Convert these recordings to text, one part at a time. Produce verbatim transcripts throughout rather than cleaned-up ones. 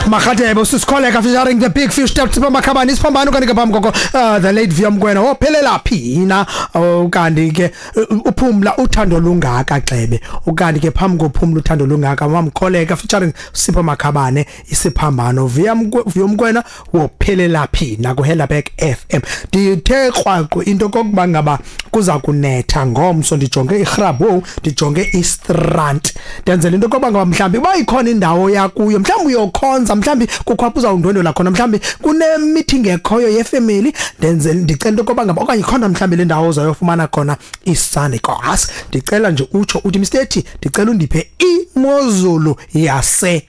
Makhathebe usisikholeka featuring the big fish step Makhabane isiphambano kanti ke phambi koko uh, the late Vuyo Mkwena wophelela phina ukanti ke uphumla uthando lungaka xebe ukanti ke phambi kophumla uthando lungaka wamkholeka featuring Sipho Makhabane isiphambano Vuyo Mkwena wophelela phina ku Helderberg F M. Ndithe krwaqo into kokuba ngaba kuza kunetha ngomso ndijonge iGrabou ndijonge iStrand ndenzela into kokuba ngaba mhlambi uba ikhona indawo yakuyo mhlambi uyokhonza mhlambi kukho apho uzawundwendwela khona mhlambi kune meeting ekhoyo yefamily ndenzela ndicela into kokuba ngaba okanye ikhona mhlambi le ndawo uzayofumana khona iSunday class ndicela nje utsho uthi Mister T ndicela undiphe imozulu yase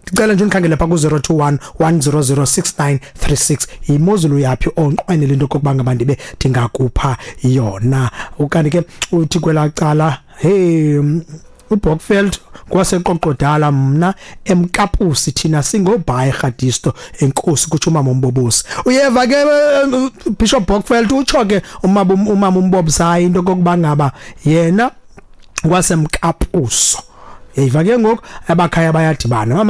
ndicela nje undikhangele pha ku zero two one one zero zero six nine three six imozulu yaphi onqwenele into kokuba ngaba ndibe ndingakupha yona ukanti ke uthi kwelacala hey uBokveld kwaseqoqodala mna emkapusi thina singobhayi Rhadisto enkosi kutsho umama uMbobosi uyeva ke Bishop Bokveld utsho ke umama umama uMbobsayi into kokuba ngaba yena kwasemkapuso Eyiva ke ngoku abakhaya bayadibana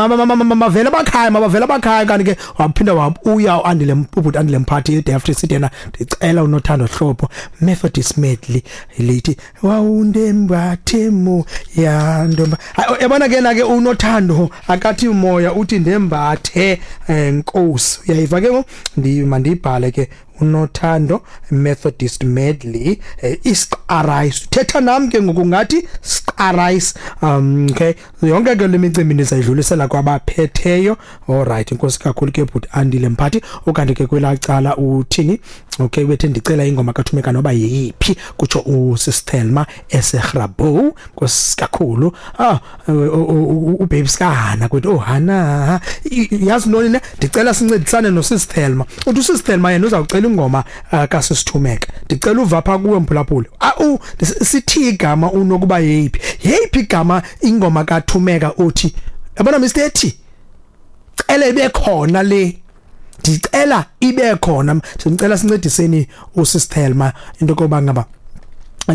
mavela abakhaya mabavela abakhaya kanti ke waphinda wabuya uAndile ubhuti Andile Mphathi iDeft City yena ndicela unothando hlobo Methodist medley lithi wawundembathemu yandomba yabona ke na ke unothando akathi umoya uthi ndembathe enkosi uyayiva ke ngoku ndimandibhale ke unothando Methodist medley isqarais thetha nami ke ngokungathi sqarais um okay yonke ke lemicimbi ndizayidlulisela kwabaphetheyo. All right inkosi kakhulu ke bhuti Andile Mphathi ukanti ke kwelacala uthini okay wethe ndicela ingoma kaThumeka noba yiphi kutsho uSistelma eseGrabou nkosi kakhulu ah uBabes Hana kwethu oh Hana yazi ntoni ne ndicela sincedisane noSistelma uthi uSistelma yena uzawucela ingoma kaSisithumeka ndicela uva pha kuwe mphulaphula ah sithi igama unokuba yeyiphi yeyiphi igama ingoma kaThumeka uthi yabona Mister T cela ibe khona le ndicela ibe khona sicela sincediseni uSistelma into koba ngaba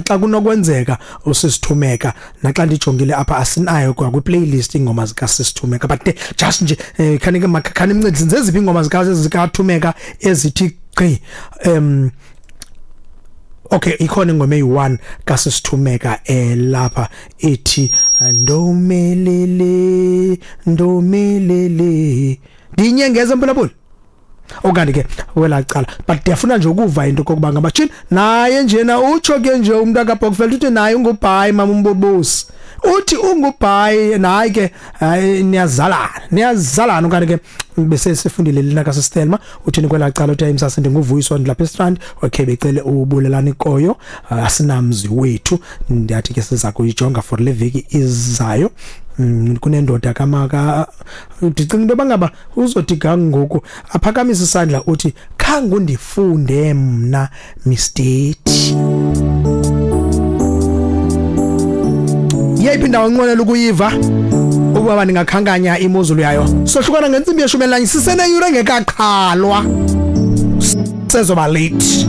xa kunokwenzeka usisithumeka naxa ndijongile apha asinayo kwa kwi playlist ingoma zika Sisithumeka but just nje khani ke khani imncedise zeziphi ingoma zika zikaThumeka ezithi gqi em okay ikhona ingoma eyi one kaSisithumeka elapha ethi ndomelele ndomelele ndinyengeze mphulaphula okanye ke welacala but ndiyafuna nje ukuva into kokuba ngabatshini naye njena utsho ke nje umuntu kaBokveld uthi naye ungubhayi mama uMbobosi uthi ungubhayi naye ke niyazalana niyazalana okanye ke bese sifundile lena kaSistelma uthini kwelacala uthi ayimsase ndinguvuyiswa ndilapha eStrand okay becele ubulelana ikoyo asinamzi wethu ndiyathi ke siza kuyijonga for le veki izayo kunendoda kamaka ndicinga into bangaba uzothi gangoku aphakamisa isandla uthi khange undifunde mna Mister T yeyiphi indawo enqwenela ukuyiva ukuba ndingakhankanya imozulu yayo sohlukana ngentsimbi yeshumi elinanye siseneyure engekaqhalwa sezoba late.